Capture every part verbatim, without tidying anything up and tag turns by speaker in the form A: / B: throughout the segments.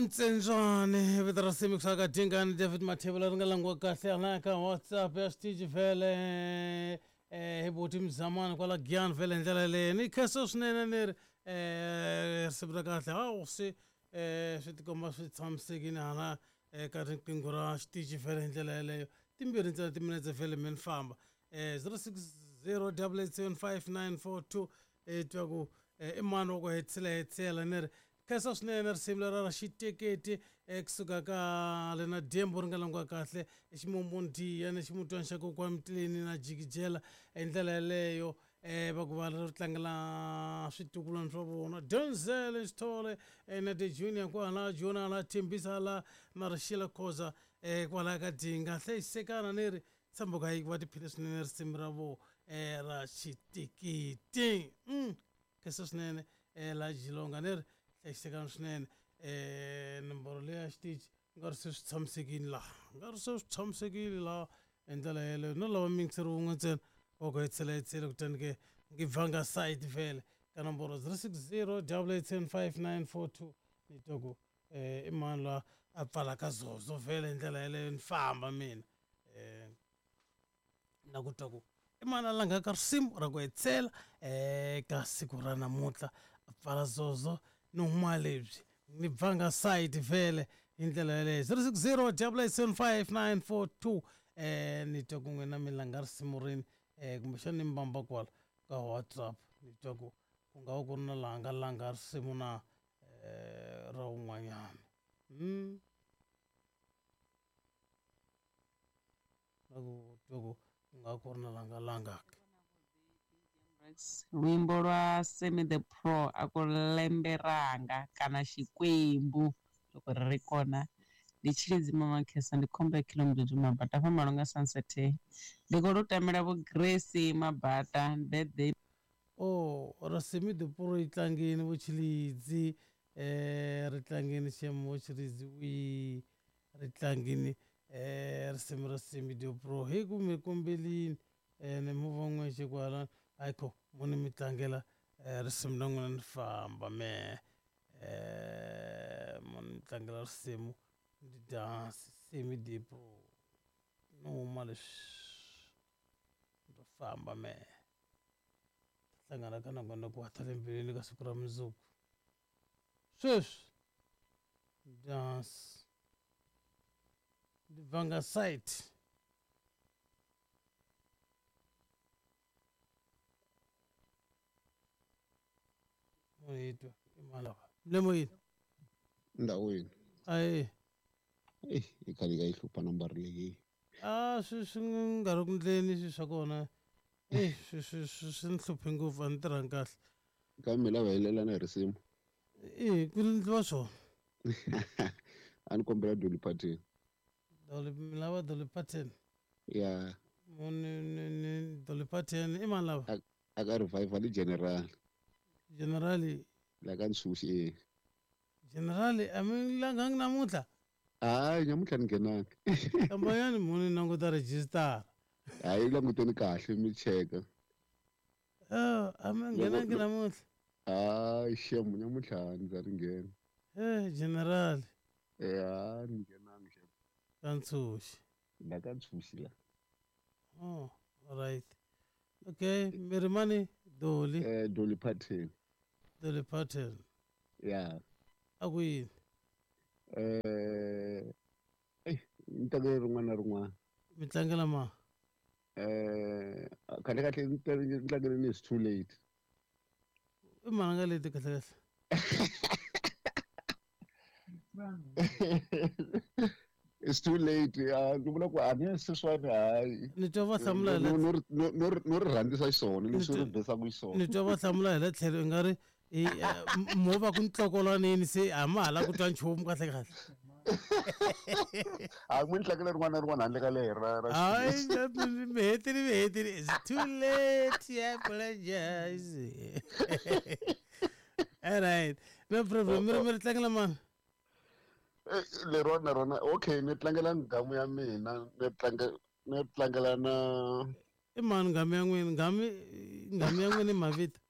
A: Ntsendzwane vito ra Simi kusuka ka Dingani David Mathebula ri nga langiwa kahle hala ka WhatsApp ya xitichi vhele eh hi buti Mzamani kwala Giyani vhele hi ndlela leyi ni khensa swinene ni ri eh risimu ra kahle hawu swi eh swi tikomba swi tshamisekile hala eka riqingho ra xitichi vhele hi ndlela yeleyo timbirhi ntsena timinetse vhele mi ni famba eh zero six zero double eight seven five nine four two eh twa ku i mani wa ku hetisela hetisela ni ri khensa swinene risimu lera ra xiteketi kusuka ka lena dyembu ri nga langiwa kahle ximumundiya ni ximutwana xa kokwana mitileni na jikijela hi ndlela yeleyo um va ku va ri tlangela switukulwana swa vona Denzel Sithole na the Junior kwala Jona la Thembisa la na Rixila Khoza um kwalaya ka Dinga hlayisekana ni ri tshemba ku hayi va tiphile swinene risimu ra vo um ra xiteketi khensa swinene um la Jilonga ni ri hlayisekana swinene um nomboro leya xitichi nga ri se swi tshamisekile laha nga ri se swi tshamisekile laha hi ndlela yeleyo no lava miyingiseri wun'we ntsena wa ku hetisela hetisela kutani ke ngi bvanga site vhele ka nomboro zero six zero double eight seven five nine four two ni twa ku um i mani loyi a pfalaka zozo vhele hi ndlela yeleyo ni famba mina um na ku twa ku i mani a langaka risimu ra ku hetisela um ka siku ra namuntlha a pfala zozo ni huma lebyi ni bvanga site vhele hi ndlela yeleyo zero six zero double eight seven five nine four two um ni twa ku n'wina mi langa risimu rini um kumbexana ni mbamba kwala ka WhatsApp ni twa ku ku nga va ku ri na laha nga langa risimu na um ra wun'wanyana mm. na ku twa ku ku nga ku ri na laha nga langaka
B: Luimbo lwa Semi the Pro a ku lembe ranga kana Xikwembu loko ri ri kona ndi Tshilidzi Mama Khesa ndi khombo ya Khilomudzudzu Mabata fha Malunga Sunset ndi khou lu tamela vho Grace Mabata birthday.
A: Oh ra Semi the Pro yi tlangeni vo Tshilidzi eh ri tlangeni xiyimo vo Tshilidzi wi ri tlangeni eh risimu ra Semi the Pro hi ku mi kombelini eh ni movha n'wexe kwala ayikho muni mi tlangela risimu ra n'wina ni famba me eh muni mi tlangela risimu ndi dance Semi the Pro no huma leswi ndo famba me hlangana ka nakona ku hatla embilwini ka siku ra mundzuku sweswi dance ndi bvanga site moyitwa mlemoyini
C: ndawini
A: ayi
C: eh ikhali ka ihlupha nambara leyi
A: a swi swi nga ri ku ndleni swi swa kona eh swi swi swi swi ni hluphe ngopfu a ni tirhangi kahle
C: kambe lava helelana hi risimu
A: eh ku ndliwa swona
C: a ni kombela Dolly Parton
A: Dolly mi lava Dolly Parton
C: ya
A: ni ni ni Dolly Parton i mani lava
C: a ka revival general
A: generali
C: la ka Ntshuxi eh
A: generali a mi langangi namuntlha
C: hayi namuntlha ni nghenanga
A: kambayani muni languta register
C: hayi languteni kahle mi cheka
A: eh a mi nghenangi namuntlha
C: hayi xem namuntlha ndza ri nghena
A: eh generali
C: eh a ni nghenangi xem
A: ka Ntshuxi
C: la ka Ntshuxi la
A: oh all right okay mi ri mani Dolly
C: eh Dolly Parton
A: Dolly Parton
C: ya
A: a ku yini
C: eh eh ni tlangela rin'wana na rin'wana
A: mi tlangela ma
C: eh kahle kahle ni tlangela ni it's too late
A: i mani nga leti kahle kahle
C: it's too late uh ni vula ku a ni sweswiwani hayi
A: ni twa va hlamula hi
C: no no no ri rhandzisa xiswona leswi ri besaka xiswona
A: ni twa va hlamula hi le tlhelo i nga ri mo va ku ntlokolwanini se a ma ha la ku twa nchumu kahle kahle
C: a n'wi ni tlangela rin'wana na rin'wana handle ka leri ra ra
A: hayi mi hetile mi hetile it's too late I apologize all right no problem mi ri mi ri tlangela mani
C: leriwani na rona okay ni tlangela nghamu ya mina ni tlangela ni tlangela na
A: i mani nghamu ya n'wina nghamu nghamu ya n'wina i mavito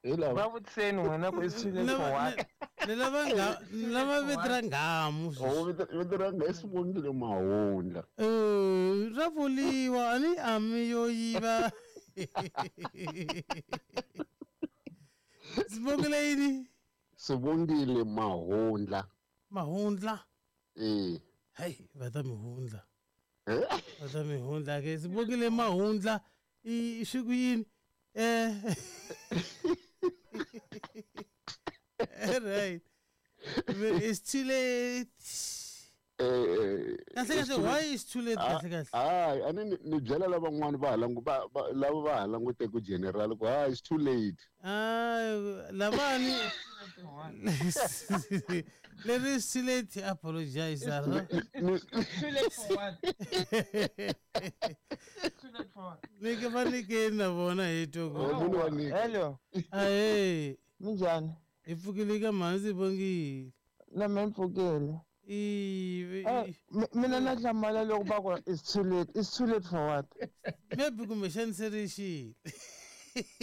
C: Hi lava.
D: Va vutiseni n'wina ku it's too late for what?
A: Ni lava nga ni lava vito ra nghamu.
C: Oh, vito vito ra nga i Sibongile Mahundla.
A: Eh, ra vuriwa a ni ami yo yiva. Sibongile yini?
C: Sibongile Mahundla.
A: Mahundla?
C: Eh.
A: Hey, va ta mi hundla.
C: Eh?
A: Va ta mi hundla ke Sibongile Mahundla i swi ku yini? Eh. Right. It's too late.
C: Eh,
A: Kahle kahle, why is too late kahle kahle?
C: Hayi, a ni ni byela lavan'wana va ha langu va lava va ha languteke ku general ku hayi it's too late.
A: Ah, lavani leri is too late apologize.
D: Too late for what? Too late for what?
A: Ni ke va nikeni na vona hi twa ku.
C: Munhu wa nyika.
D: Hello.
A: Ahee.
D: Minjhani?
A: Hi pfukile ka mhani Sibongile.
D: Na me mpfukile.
A: I
D: mina na hlamala loko va ku it's too late. It's too late for what?
A: Maybe kumbexani se ri xile.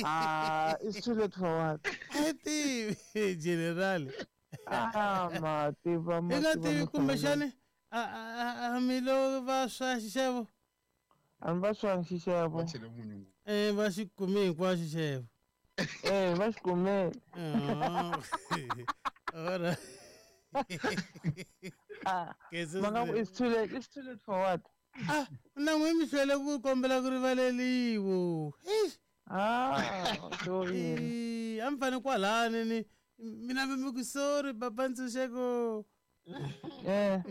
D: Ah, it's too late for what?
A: A tivi general.
D: Ah, ma tiva ma
A: I nga tivi kumbexani a a mi lo va swa xixevo.
D: A mi va swa xixevo.
C: Va chele munyu ngopfu.
A: Eh, va xi kume hinkwaxo xixevo.
D: Eh, va xi kume.
A: All right.
D: Ah, ma it's too late. It's too late for what?
A: Ah, na n'wi mi hlwele ku kombela ku rivaleliwa.
D: Ah, sorry.
A: A mi fane kwalani ni mina mi ku sorry papa Ntshunxeko.
D: Eh.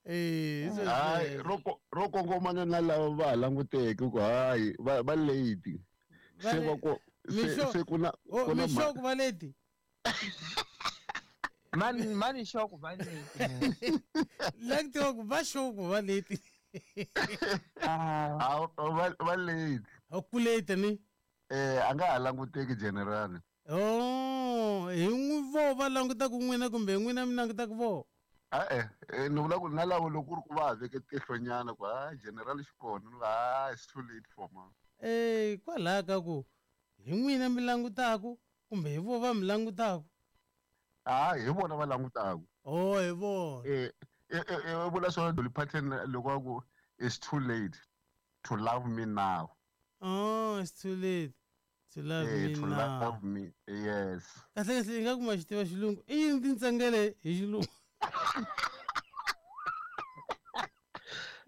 A: Eh,
C: hayi ro ro kongomana na lava va ha languteke ku hayi va va late. Se va ku se ku na
A: ku na mixoko va late.
D: Man man xoko va late.
A: Like to va xoko va late.
D: Ah,
C: va va late.
A: A ku late ni?
C: Eh, a nga ha languteki general.
A: Oh, hi n'wi vo va langutaka n'wina kumbe n'wina mi langutaka vo?
C: Ah eh, ni vula ku na lavo loko ku ri ku va ha veke tihlonyana ku ha general xi kona ni va it's too late for ma.
A: Eh, kwalaha ka ku hi n'wina mi langutaku kumbe hi vo va mi langutaku?
C: Ah, hi vona va langutaku.
A: Oh, hi vona.
C: Eh, eh, eh, vula swona Dolly Parton loko a ku it's too late to love me now.
A: Oh, it's too late to love
C: eh,
A: me
C: to
A: now.
C: Love me, yes.
A: Kahle kahle ingaku ma xi tiva xilungu. I yini tintsengele hi xilungu?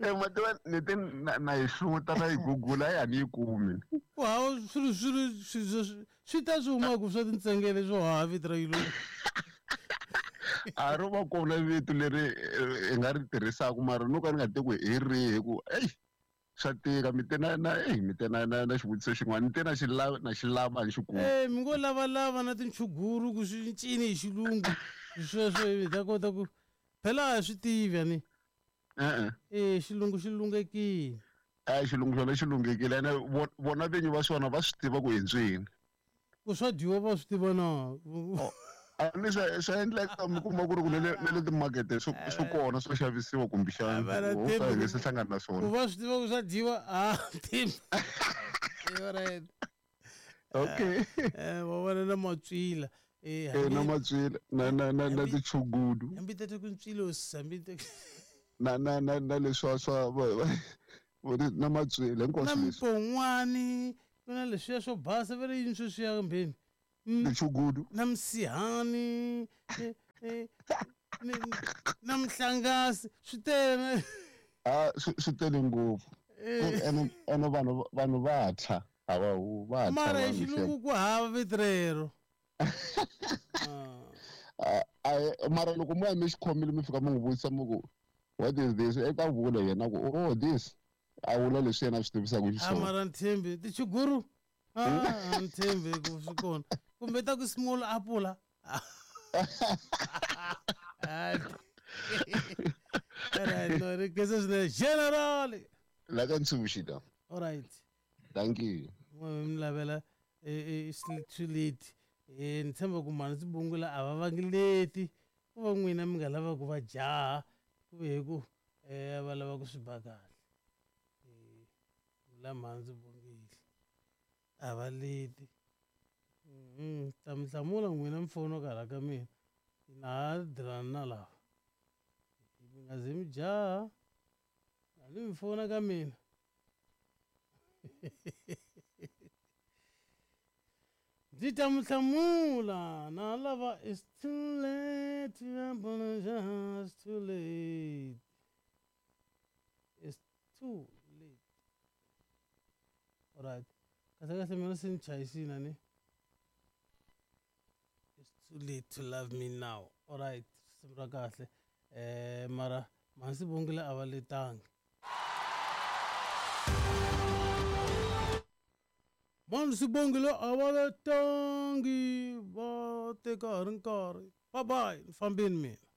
C: Eh, ma tiva ni te na na yi hluta na yi gugula ya ni yi kumi.
A: Ku hava swilo swilo swilo swi ta swi humaka swa tintsengele swo hava vito ra xilungu.
C: A ro va kona vito leri hi nga ri tirhisaka mara no ka ni nga tivi ku hi rihi ku ei swa tika mi te na na ei mi te na na na xivutiso xin'wana ni te na xi lava na xi lava ni xi kuma.
A: Eh, mi ngo lavalava na tinchuguru ku swi ncini hi xilungu sweswo hi ta kota ku phela a swi tivi ani.
C: E-e.
A: Eh, xilungu xi lunghekile.
C: A xilungu xona xi lunghekile ene vona vinyi va swona va swi tiva ku hi ntswini.
A: Ku swa dyiwa va swi tiva na.
C: A ni swa swa endleka mi kuma ku ri ku na le na le timakete swi swi kona swo xavisiwa kumbexana u ka hi nge se hlangana na swona.
A: Ku va swi tiva ku swa dyiwa a tivi. Alright.
C: Okay.
A: Eh, va vona na matswila. Eh,
C: eh na matswila na na na na tichugudu.
A: Hambi tete ku ntswilo hambi tete
C: na na na na leswa swa na matswila hinkwaswo
A: na
C: leswi.
A: Mpon'wani ku na leswiya swo basa va ri yini sweswiya mbeni.
C: Tichugudu.
A: Na msihani na mhlangasi swi tele.
C: Ah, swi tele ngopfu. Ene ene vanhu vanhu va tshwa a va hu va tshwa.
A: Mara hi xilungu ku hava vito rero.
C: A mara loko mo ya mi xi khomile mi fika mi n'wi vutisa mi ku what is this? Eka vula yena ku oh this. A vula leswi yena a swi tivisaka xiswona.
A: A mara Nthembi tichuguru. Ah, Nthembi ku swi kona. Kumbe ta ku small apula. Alright, no, ri kesa swinene general.
C: La ka Ntshunxo.
A: All right.
C: Thank you.
A: Mi lavela it's too late. Eh, ni tshemba ku mhani Sibongile a va vangi leti ku va n'wina mi nga lava ku va jaha ku ve hi ku eh va lava ku swi ba kahle. Eh, la mhani Sibongile a va leti. Mm, ta mi hlamula n'wina mi fona ka ka mina na ha dirana na lava mi nga ze mi jaha a ni mi fona ka mina ndzi ta mi hlamula na lava it's too late to apologize it's too late it's too late alright kahle kahle mina se ni chayisile ni it's too late to love me now alright risimu ra kahle eh mara mhansi bongile a va letangi mani sibongile a va letangi va teka ha ri nkarhi bye bye ni fambeni mina.